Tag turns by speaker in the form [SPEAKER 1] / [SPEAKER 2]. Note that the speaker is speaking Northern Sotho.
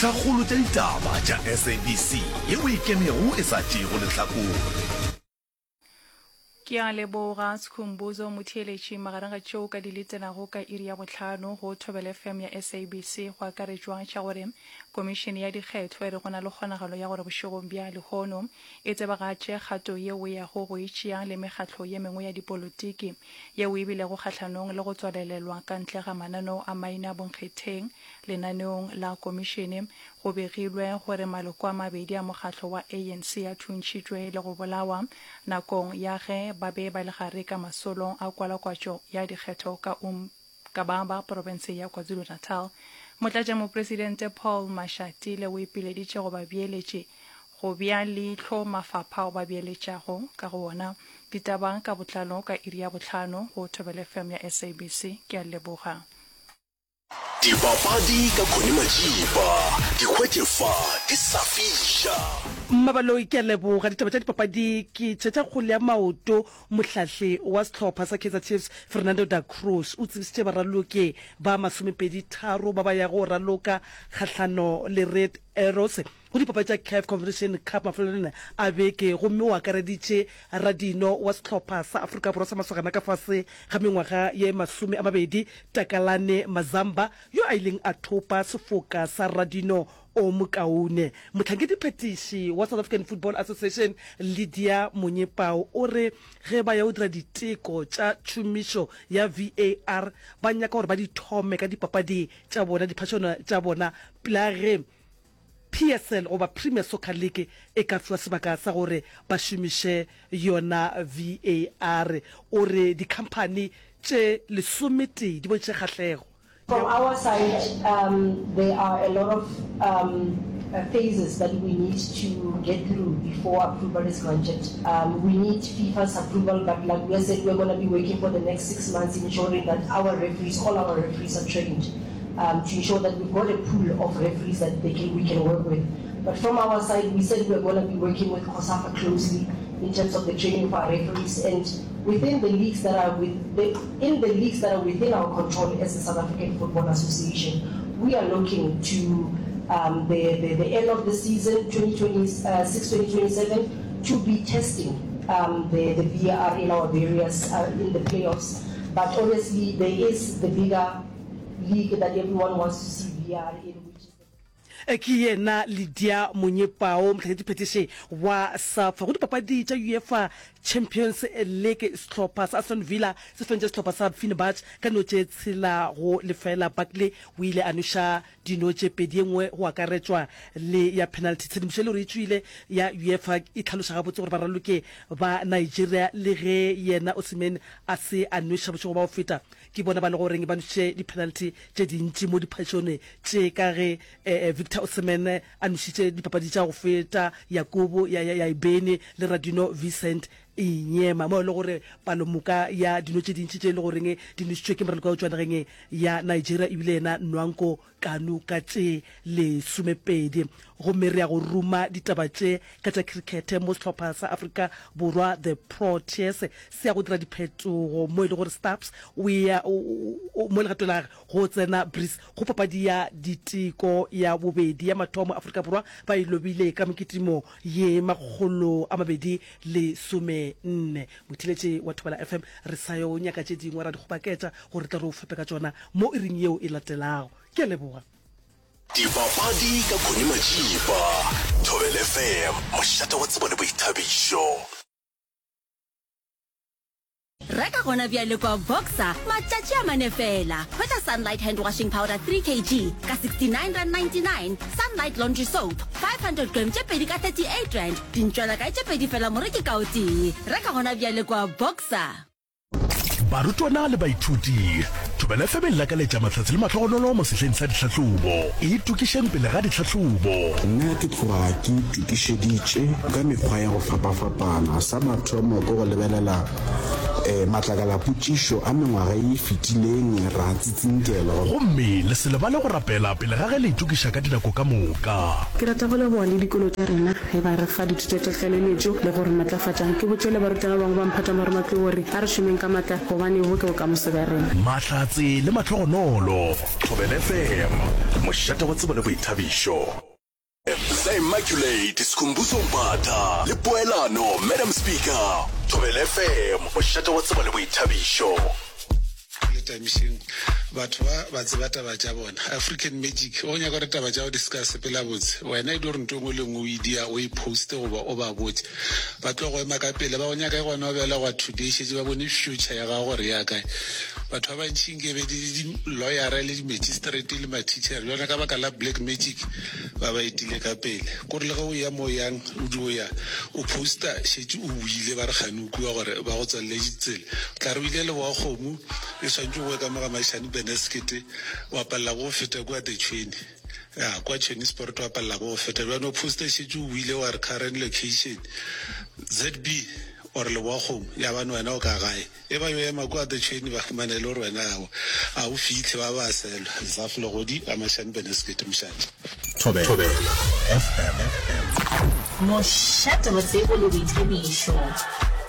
[SPEAKER 1] Tlhakgolo tša ditaba tša SABC yeo e ikemego e sa tšeego lehlakore.
[SPEAKER 2] Ke a leboga Skhumbuzo Motheeletši magareng ga tšeo ka di letelago ka iri ya bohlano go Thobela FM ya SABC go akaretšwa tša gore Komišene ya Dikgetho e re go na le kgonagalo ya gore bošegong bja lehono e tsebagatše kgato yeo e yago go e tšea le mekgatlo ye mengwe ya dipolotiki yeo e bilego kgahlanong le go tswalelelwa ka ntle ga mananeo a maina bonkgetheng Lenaneong la komišene, go begilwe gore maloko a mabedi a mokgatlo wa ANC a thuntšhitšwe le go bolawa nakong ya ge ba be ba le gare ka masolong a kwalakwatšo ya dikgetho ka Umgababa, profense ya KwaZulu-Natal. Motlatšamopresidente Paul Mashatile o ipileditše go babeeletši go bea leihlo mafapha ao ba beeletšago ka go wona. Ditaba ka botlalo ka iri ya bohlano go Thobela FM ya SABC. Ke a leboga.
[SPEAKER 1] Dipapadi ka Connie Majiba, di hwetše fa di sa fiša.
[SPEAKER 3] Mmabaloi ke a leboga. Ditaba tša dipapadi ke tše tša kgole ya maoto. Mohlahli wa sehlopha sa Kaizer Chiefs Fernando da Cruz o tsebisitše baraloki ba masomepedi tharo ba ba yago go raloka kgahlano le Red Arrows go dipapadi tša Caf Confederation Cup mafelelong a beke gomme o akareditše radino wa sehlopha sa Afrika Borwa sa masogana ka fase ga mengwaga ye 20 Takalane Mazamba yo a ileng a thopa sefoka sa radino o mokaone. Mohlankediphetiši wa South African Football Association Lydia Monyepao o re ge ba ya go dira diteko tša tšhomišo ya VAR ba nyaka gore ba di thome ka dipapadi tša bona diphašano tša bona pela ge PSL goba Premier Soccer League e ka fiwa sebaka sa gore ba šomiše yona VAR. O re dikhamphani tše lesometee di bontšhitše kgahlego
[SPEAKER 4] From our side, there are a lot of phases that we need to get through before approval is granted. We need FIFA's approval, but like we said, we're gonna be working for the next 6 months ensuring that our referees, all our referees are trained. um, to ensure that we've got a pool of referees that they can, we can work with. But from our side, we said we're going to be working with COSAFA closely in terms of the training of our referees and within the leagues that are with the, in the leagues that are within our control as the South African Football Association, we are looking to um, the, the, the end of the season, 2026-2027, uh, to be testing um, the, the VAR in our various, uh, in the playoffs. But obviously there is the bigger league that everyone wants to see VAR in, which is the.
[SPEAKER 3] Ke yena Lydia Monyepao, mohlankediphetiši wa SAFA. Go dipapadi tša UEFA Champions League, sehlopha sa Aston Villa se fentše sehlopha sa Fenerbahce ka dino tše tshela go lefela. Barkley o ile a noša dino tše pedi, ye nngwe go akaretšwa le ya penalty. Tshedimošo e le gore e tšwile ya UEFA e hlaloša gabotse gore baraloki ba Nigeria le ge yena Osimhen a se a nweša bošego bja go feta, Ke bona ba le goreng ba nwešitše di-penalty tše dintši mo diphašone tše ka ge Victor Osimhen a nwešitše dipapadi tša go feta Yakubu Yaibeni le Radino Vincent Inyema mo e le gore palomoka ya dino tše dintši tše e le goreng di nwešitšwe ke moraloki wa go tšwa nageng ya Nigeria ebile yena Nwanko Kanu ka tše lesomepedi. Gomme re ya go ruma ditaba tše ka tša khrikhete mo sehlopha sa Afrika Borwa The Proteas se ya go dira diphetogo mo e le gore Stubbs o ya mo legatong la gage go tsena Brees go papadi ya diteko ya bobedi ya mathomo Afrika Borwa ba e lobile ka mekitimo ye 214. Motheeletši wa Thobela FM re sa yo nyaka tše dingwe ra di kgobaketša gore re tle re o fepe ka tšona mo iring yeo e latelago. Ke a leboga.
[SPEAKER 1] Dipapadi ka Connie Majiba, Thobela FM, mošate wa tsebo le boithabišo.
[SPEAKER 5] Reka gona bjale kwa Boxer matšatši a mane fela. Hwetša Sunlight hand washing powder 3 kg ka R69.99, Sunlight laundry soap 500 gram tše pedi ka R38, dintšwelakae tše pedi fela moreki ka o tee. Reka gona bjale kwa Boxer.
[SPEAKER 1] Barutwana le baithuti, Thobela FM e lakaletša mahlatse le mahlogonolo mo sehleng sa ditlhahlobo. Itokišeng pele ga ditlhahlobo.
[SPEAKER 6] Nna ke tloga ke itokišeditše ka mekgwa ya go fapafapana. Sa mathomo ke go lebelela. Matlakalapotšišo a mengwaga ye e fetileng ra tsitsinkelwa.
[SPEAKER 1] Gomme le se lebale go rapela pele ga ge le itokiša ka dinako ka moka.
[SPEAKER 7] Ke rata go leboga le dikolo tša rena ge ba re fa dithuto tša tlaleletšo le go re matlafatša. Ke botše le barutwana ba bangwe ba mphato wa marematlou gore a re šomeng ka matla gobane bo ke bokamoso bja rena.
[SPEAKER 1] Mahlatse le mahlogonolo. Thobela FM, mošate wa tsebo le boithabišo. The Immaculate Skhumbuzo Mbatha le Poelano Madam Speaker. Thobela FM, mošate wa tsebo le boithabišo.
[SPEAKER 8] Letamišeng batho ba ba tseba taba tša bona. African magic o nyaka gore taba tša go di seka sepela botse wena e di gore nto engwe le engwe o e dia o e poste goba o ba botse ba tlo go ema ka pele ba go nyaka e gona o belegwa today šetše ba bone future ya gago gore ya kae. Batho ba bantši nke be di le di-lawyera le di-magistrate le ma-teacher bjona ka baka la black magic ba ba etile ka pele. Kore le ge o ya mo o yang o dio ya o poster šetše o boile ba re kgane o kua gore ba go tswalele ditsela. O tla re o ile leboa kgomo e swantše o boe ka mo ga Mashani Beneskete wa palela ke go feta kua The Tšhweni ya kwa Tšhweni Sport wa palela ke go feta bjano o poster šetše o boile wa re current location ZB or leboa kgomo ya bane wena o ka gae. E ba yo ema kua The Chain ba humana e le gore wena ao a o fihle ba ba selwa. Zaf Legodi a Mashani Beneskete Mošate.
[SPEAKER 1] Thobela FM.
[SPEAKER 9] Mošate wa tsebo le boithabišo.